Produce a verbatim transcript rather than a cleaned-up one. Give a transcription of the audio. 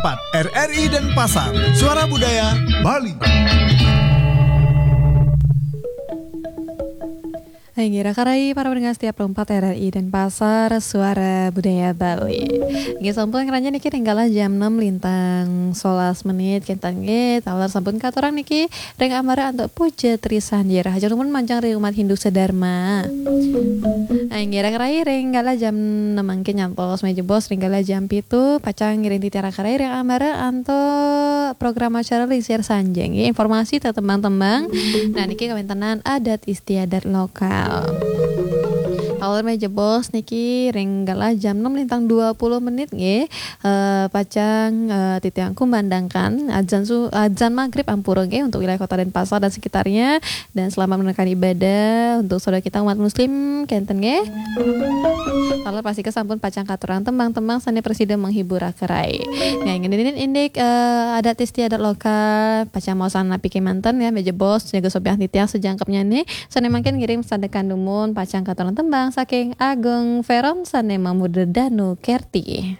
R R I Denpasar, Suara Budaya Bali. Hai, ngira karai para pendengar setia empat R R I Denpasar, Suara Budaya Bali. Nggih, sampun ngeranjang niki ring galah jam enam lintang sebelas menit, kenten nggih, taler sampun katurang niki ring amara antuk puja trisanjir. Hajeng nuwun manjang ring umat Hindu sedharma. Hai, ngira karai ring galah jam enam mangkin nyantos malih jebos ring galah jam pitu, pacang ngiring titiang karai ring amara antuk program acara Lingsir Sanjaya nggih, informasi tentang tembang-tembang. Nah, niki kawentenan adat istiadat lokal. Taler malih jebos niki ring galah jam enam lintang dua puluh menit nggih. Eh, pacang, eh, titiang kumandangkan adzan su-, adzan maghrib ampura nggih untuk wilayah Kota Denpasar dan sekitarnya. Dan selamat menunaikan ibadah untuk saudara kita umat muslim kenten nggih. Taler pastika sampun pacang katurang tembang-tembang sane prasida menghibur karai. Nggih, ngenenin indik, eh, adat istiadat lokal, pacang maosan napi kemanten ya, malih jebos, jaga sopiah titiang sajangkepnyane, sane mangkin ngiring sandekan dumun, pacang katurang tembang saking Agung Veron sane mamurda Danu Kerti.